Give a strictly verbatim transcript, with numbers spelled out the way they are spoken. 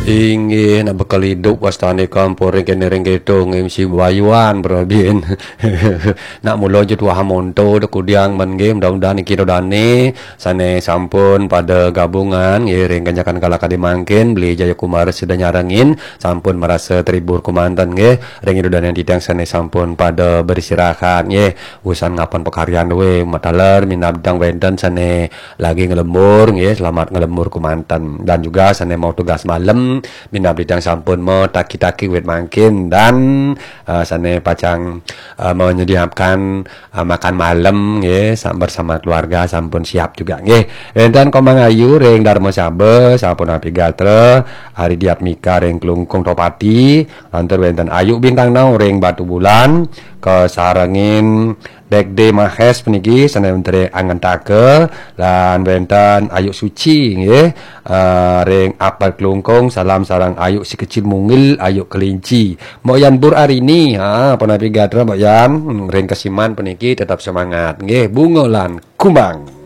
Inggih, nak bekel idup wastane kampung ring kene ring keto nggih, mesti bayuan berabin. Nak mula je tuah monto dek kudiang men nggih, mudah-mudahan niki dodane sane sampun pada gabungan nggih ring ganjakan kala kadi mangkin, Beli Jaya Kumara sida nyarengin, sampun marasa teribur kemanten nggih, ring dodane titiang sane sampun pada beristirahat nggih, usan ngapan pakaryan we, mataler minab dang wenten sane lagi ngelembur nggih, selamat ngelembur kemanten. Dan juga sane mau tugas malam, minab dang sampun mau taki-taki wit mangkin dan eh, sane pacang eh, menyediakan eh, makan malam nggih, sa- bersama keluarga sampun siap juga nggih. Wenten Komang Ayu ring Dharma Saba, sampun api gatra, Ari Diatmika ring Klungkung Topati, lantur wenten Ayu Bintang Nau ring Batu Bulan, kasarengin Dek De Mahes puniki sane wenten ring Angantaka, lan wenten Ayu Suci nggih, eh, ring Apel Klungkung, salam sareng Ayu si kecil mungil, Ayu kelinci. Mbok Yan Bur Arini, ha, punapi gatra Mbok Yan, ring kesiman puniki tetap semangat nggih, bunga lan kumbang.